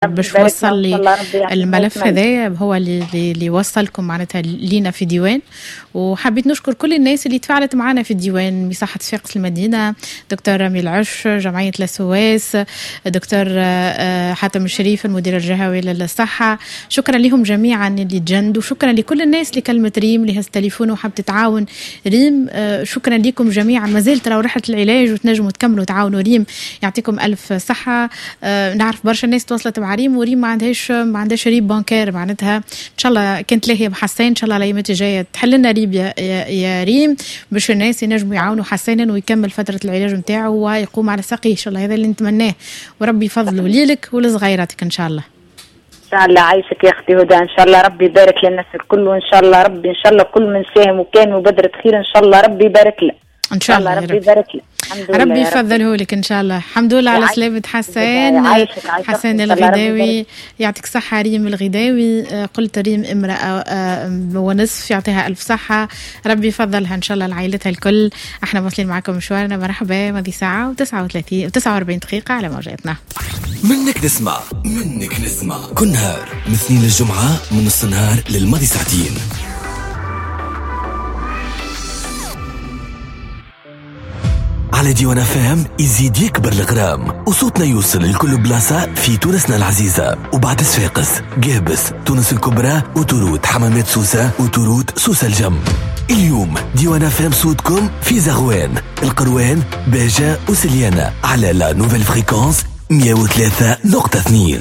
باش وصل لي الملف هذايا، هو اللي وصلكم معناتها لينا في ديوان. وحبيت نشكر كل الناس اللي تفاعلت معنا في الديوان، مساحة صفاقس المدينة، دكتور رامي العش، جمعية لاسواس، دكتور حاتم الشريف المدير الجهوي للصحة. شكرا لهم جميعا اللي تجندوا، شكرا لكل الناس اللي كلمت ريم، اللي هز التليفون وحبت تتعاون ريم. شكرا لكم جميعا. ما زالت راهو رحلة العلاج وتنجموا تكملوا تعاونوا ريم، يعطيكم ألف صحة. نعرف برشا ناس تواصلت مع ريم، وريم ما عندهاش RIB bancaire معناتها. ان شاء الله كنت لاهية بحسين، ان شاء الله الايامات الجاية تحل لنا RIB يا ريم باش الناس ينجموا يعاونوا حسين ويكمل فترة العلاج نتاعو ويقوم على ساقيه ان شاء الله. هذا اللي نتمناه، وربي يفضله ليلك ولصغيراتك ان شاء الله. ان شاء الله. عايشك يا اختي هدى، ان شاء الله ربي يبارك للناس الكل، وان شاء الله ربي ان شاء الله كل من ساهم وكان مبادرة خير ان شاء الله ربي يبارك له. ان شاء الله ربي يبارك له. ربي يفضله لك ان شاء الله. الحمد لله على سلامة حسين. حسين الغداوي، يعطيك صحة. ريم الغداوي، قلت ريم امرأة ونصف، يعطيها ألف صحة، ربي يفضلها ان شاء الله لعائلتها الكل. احنا واصلين معكم مشوارنا، مرحبا. ماضي ساعة و39 49 دقيقة على موجاتنا. منك نسمع، منك نسمع كل نهار من اثنين للجمعة، من نص النهار للماضي ساعتين. على ديوان FM يزيد يكبر الغرام وصوتنا يوصل لكل بلاصة في تونسنا العزيزة، وبعد صفاقس، قابس، تونس الكبرى، وتروت حمامات سوسة، وتروت سوسة الجم. اليوم ديوان FM صوتكم في زغوان، القروان، باجة وسليانة على la nouvelle fréquence 103.2.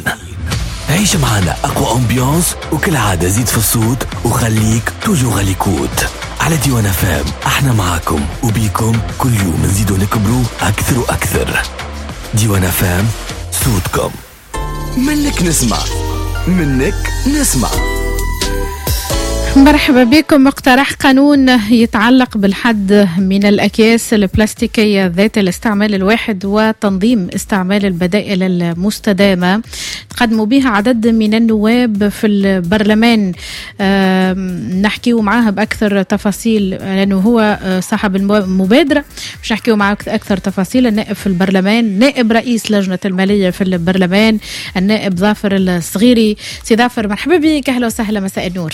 عيش معنا أقوى ambiance، وكالعادة زيد في الصوت وخليك toujours à l'écoute على ديوان FM. احنا معاكم وبيكم كل يوم نزيدوا نكبروا اكثر واكثر. ديوان FM صوتكم. منك نسمع، منك نسمع. مرحبا بكم. مقترح قانون يتعلق بالحد من الأكياس البلاستيكية ذات الاستعمال الواحد وتنظيم استعمال البدائل المستدامة تقدموا بها عدد من النواب في البرلمان. نحكيه معاه بأكثر تفاصيل لأنه هو صاحب المبادرة، باش نحكيه معاه أكثر تفاصيل. النائب في البرلمان، نائب رئيس لجنة المالية في البرلمان، النائب ظافر الصغيري. سي ظافر مرحبا بك، أهلا وسهلا، مساء النور.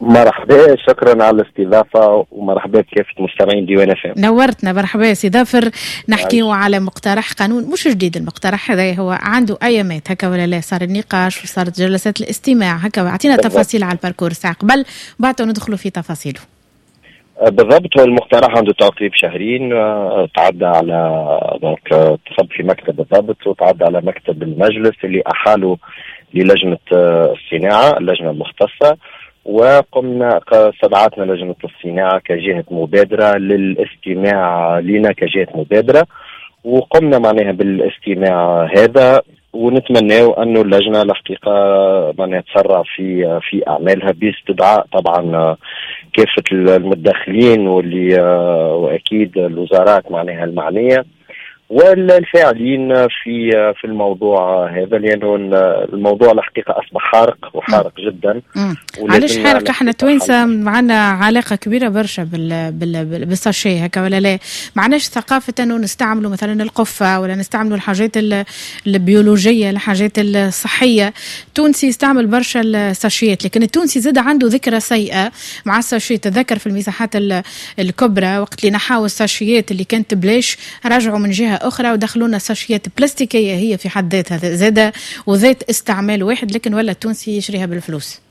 مرحبا، شكرا على الاستضافة ومرحبا بكافة مستمعين ديوان FM. نورتنا، مرحبا سي ظافر. نحكيو على مقترح قانون مش جديد، المقترح هذا هو عنده ايامات هكا ولا لا؟ صار النقاش وصارت جلسات الاستماع هكا، اعطينا تفاصيل على ال parcours ساعة قبل بعد ندخلوا في تفاصيله. بالضبط، هو المقترح عنده تقريب شهرين، تعدى على donc تصب في مكتب الضبط وتعدى على مكتب المجلس اللي احالة للجنة الصناعة، اللجنة المختصة، وقمنا استدعتنا لجنة الصناعة كجهة مبادرة للاستماع لنا كجهة مبادرة، وقمنا معناها بالاستماع هذا، ونتمناو أنه اللجنة الحقيقة معناها تسرع في أعمالها باستدعاء طبعا كافة المتدخلين واللي وأكيد الوزارات معناها المعنية والفاعلين في الموضوع هذا، لانه الموضوع الحقيقة اصبح حارق وحارق جدا. علاش حارق؟ احنا توانسة معنا علاقة كبيرة برشا بال sachet هكا ولا لا؟ معناش ثقافة انه نستعملوا مثلا القفه ولا نستعملوا الحاجات البيولوجية، الحاجات الصحية. التونسي يستعمل برشا الساشيات، لكن التونسي زاد عنده ذكرى سيئه مع ال sachet. تذكر في المساحات الكبرى وقت اللي نحاو الساشيات اللي كانت بلاش، رجعوا من جهة أخرى ودخلونا ساشيات بلاستيكية هي في حد ذاتها زادة وذات استعمال واحد، لكن ولا التونسي يشريها بالفلوس.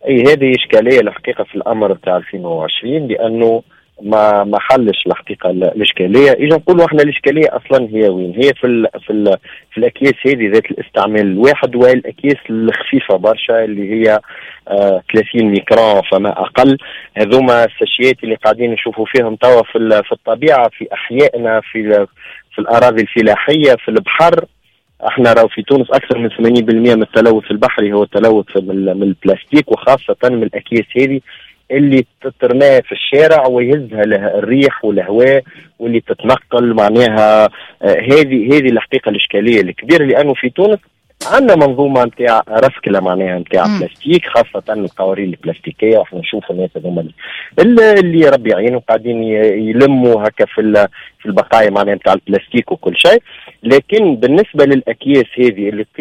أي هذه إشكالية الحقيقة في الأمر بتاع 2020، لأنه ما حلش الحقيقة الإشكالية. إذا نقولوا إحنا الإشكالية أصلا هي وين؟ هي في ال في ال في الأكياس هذه ذات الاستعمال الواحد، والأكياس الخفيفة برشا اللي هي 30 ميكرون فما أقل. هذوما الساشيات اللي قاعدين نشوفوا فيهم توا في الطبيعة، في أحيائنا، في الأراضي الفلاحية، في البحر. احنا راهو في تونس أكثر من 80% من التلوث البحري هو التلوث من البلاستيك، وخاصة من الأكياس هذه اللي تترمى في الشارع ويهزها لها الريح والهواء واللي تتنقل معناها. هذه الحقيقة الإشكالية الكبيرة، لأنه في تونس عندنا منظومة نتاع رسكله معناها نتاع بلاستيك، خاصة القوارير البلاستيكيه، واحنا نشوفوا الناس هذوما اللي ربي يعينهم قاعدين يلموا هكا في البقايا معناها نتاع البلاستيك وكل شيء. لكن بالنسبة للاكياس هذه اللي